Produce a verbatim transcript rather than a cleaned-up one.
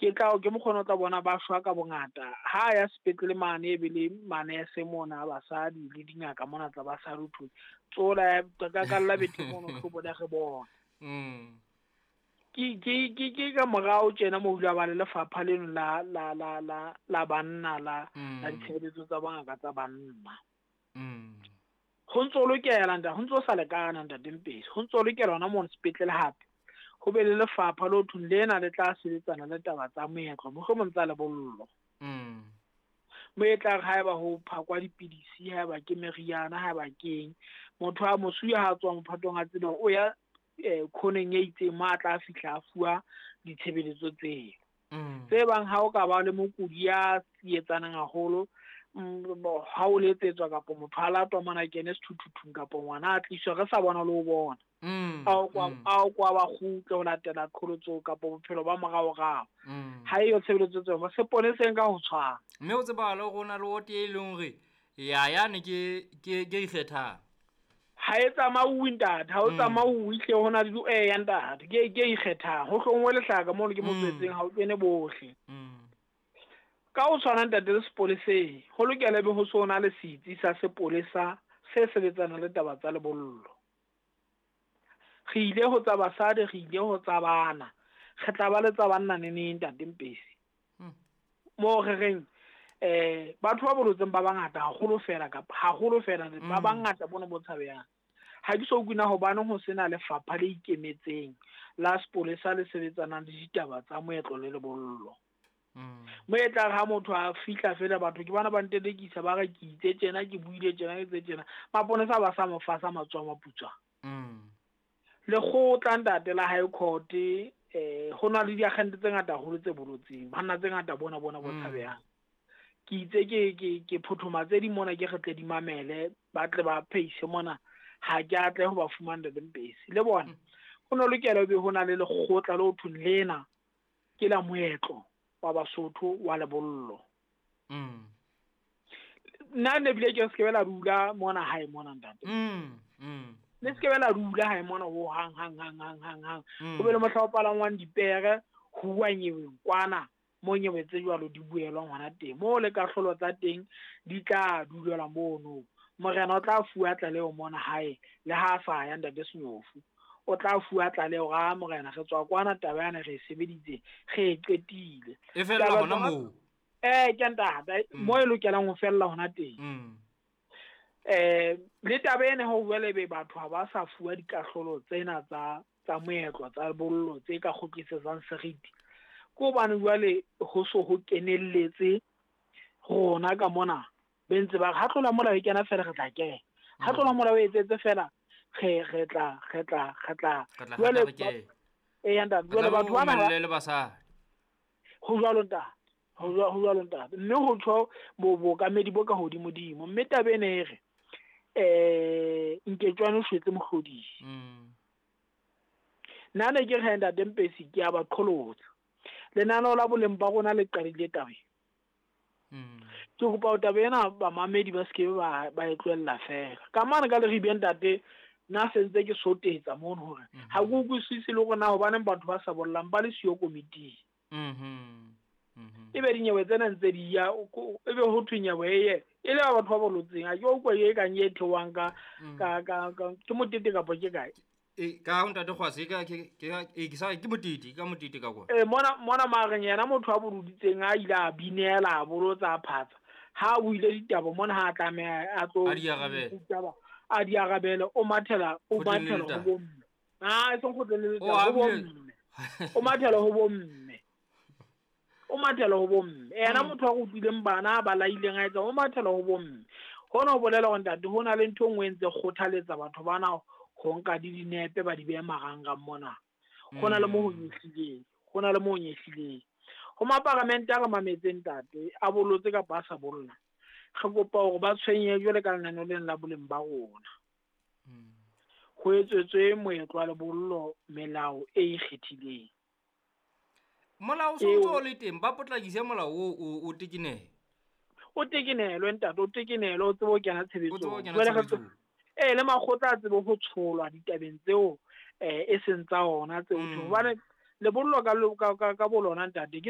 Ke tla ke mokgona o tla bona ba shwa ka bongata. Ha ya sepetlele mane e be le manese mona basadi le dingaka mona tla ba sa ruthwe. Tsola ka ka la bethe mono hlobo le re bona. Mm. Ke ke ke ke ka morao tjena mo hula ba le lefapha leno la la la la la banna la Mm. la ditshebeletso tsa bongaka tsa banna. Mm. Ho ntso lokela ntate, ho ntso sa lekana ntate Mpesi. Ho ntso lokela hona mono sepetlele hape. Ho be le lefapha le ho thweng lena le tla sebetsana le taba tsa moetlo, mohlomong tsa lebollo. Mm. Mo e tla re haeba ho phakwa dipidisi, haeba ke meriana, haeba keng, motho a mosuwe ha a tswa mophatong a tsebe o ya eh khoneng e itseng mo a tla fihla a fuwa ditshebeletso tseo. Mm. Tse bang ha o ka ba le mokudi ya tsietsanang haholo, mm, ha o letsetswa kapa motho a latwa mona kene sethuthuthung kapa ngwana a tliswa re sa bona le ho bona. Mm. A o kwa Mm. a o kwa ba kgutle ho latela qholotso kapa bophelo ba moraorao. Mm. Ha eyo tshebeletso tseo, seponeseng ka ho tshwana. Mme o tsebahale hore ho na le wote e leng hore ya yane ke ke ke ikgethang. Ha e tsamauwe ntate, ha o Mm. tsamauwe hle ho na le di eh ya ntate, ke ke ikgethang. Ho hlongwe lehlaka mono ke Mm. motswetseng ha o kene bohle. Mm. Ka ho tshwana ntate le sepoleseng, ho lokela be ho so na le setsi sa sepolesa se sebetsanang le taba tsa lebollo. Re ile ho tsa basadi, re ile ho tsa bana. Re tla ba le tsa banna neneng ntate Mpesi. Mm. Moo re reng eh batho ba bolotseng ba bangata haholo fela kapa haholo fela ba Mm. bangata bona bo tshabehang. Ha ke so kwina hobane ho sena lefapha le ikemetseng la sepolesa le sebetsanang le ditaba tsa moetlo le lebollo. Mm. Mo e tla re ha motho a fihla fela batho ke bana ba ntelekisa ba re ke itse tjena, ke buile tjena, ke itse tjena. Maponesa ba sa mo fasa matsoho a maputswa. Mm. Lekgotla ntate la High Court, eh ho na le diakgente tse ngata haholo tse bolotseng, banna tse ngata bona bona bo Mm. tshabehang. Ke itse ke ke ke phothoma tse ding mona ke re tle di mamele, ba tle ba pheise mona, ha ke a tle ho ba fumana ntate Mpesi. Le bona Mm. ho no lokela ho be ho na le lekgotla le ho thweng lena ke la moetlo wa Basotho wa lebollo. Mm. Nna ne bile ke se ke la dula mona hae mona ntate. Mm. Mm. Le se ke la dula hae mona ho hang hang hang hang hang hang. Mm. Ho be le mohla o palangwang dipere, ho uwa nyeweng kwana mo nyewe tse jwalo di buelwang hona teng. Moo le kahlolo tsa teng di tla dulelwa mono. Morena o tla fuwa tlaleho mona hae le ha a sa ya ntate Senyofu. O tla fuwa tlaleho ra morena re tswa kwana taba yana re e sebeditse, re e qetile. E fella Taba hona tsa- moo. Eh, ke ntate, Mm. mo e lokelang ho fella hona teng. Mm. Eh, le taba ena ho bua le be batho ha ba sa fuwa dikahlolo tsena tsa tsa moetlo tsa bollo tse ka kgutlisetsang seriti. Ke hobane jwale ho so ho kenelletse rona ka mona be ntse ba re ha tlola molao e kena fela re tla kena. Ha tlola molao e etsetse fela re re tla re tla re tla Re tla jwale hata re kene. eh ya ntate, Re jwale tla batho bana ba romelle le basadi. Ho jwalo ntate. Ho jwalo, ho jwalo ntate. Mme ho tjho bo bookamedi bo ka hodimodimo. Mme taba ena e re, eh, Nketswane o shwetse mohlodisi. Mm. Nna ne ke re ntate Mpesi ke a ba qholotsa. Lenaneo la boleng ba rona le qadile tabeng. Mm. Ke kopa ho taba ena bamamedi ba se ke ba, ba e tlohella fela. Ka mane ka Leribe ntate, nna se ntse ke sotetsa mono hore Mhm. ha ke utlwisise le hore na hobaneng batho ba sa bollang ba le siyo komiting. Mhm. Mhm. Ebe dinyewe tsena ntse di ya, o ko-, ebe ho thwe nyewe e ye, e le ba batho ba bolotseng. Ha ke utlwe e kang e theohang ka, Mm. ka, ka, ka, ke motete kapa ke kae? E, ka ho ntate Kgwase, ka, ke, ke, e, ke sa, ke motete, ka motete ka kwa. E, mona, mona mareng yena motho a boloditseng a ile a binela, a bolotsa, a phatsa. Ha a buile ditaba mona ha a tlameha a tlo A di arabele. ditaba, a di arabele, o mathela, o Kgotleng le mathela ho letaba. bomme. Ah, e seng kgotleng le O letaba, ho abile. bomme. O mathela ho bomme. O mathela ho bomme. Yena Mm. motho a rutileng bana ba laileng a etsa, o mathela ho bomme. Hona ho bolela hore ntate ho na le ntho e nngwe e ntse kgothaletsa batho bana ho nka di dinepe ba di behe marangrang mona. Ho na le moo ho Mm. nyehlileng, ho na le moo ho nyehlileng. Ho maparamente a re mametseng ntate, a bolotse kapa a sa bolla. Re kopa hore ba tshwenye jwale ka lenaneo lena la boleng ba rona. Mm. Ho etsetswe moetlo wa lebollo melao e ikgethileng. Molao o Eo. ntso o le teng, ba potlakise molao o, o, o tekenele. O tekenelwe ntate, o tekenelwe, o tsebe ho kena O tsebe ho tshebetsong. kena Jwale re tshebetsong. Eh, le makgotla a tsebe ho tsholwa ditabeng tseo, eh, e seng tsa ona tseo. Mm. Hobane lebollo ka lo-, ka, ka, ka bolona ntate ke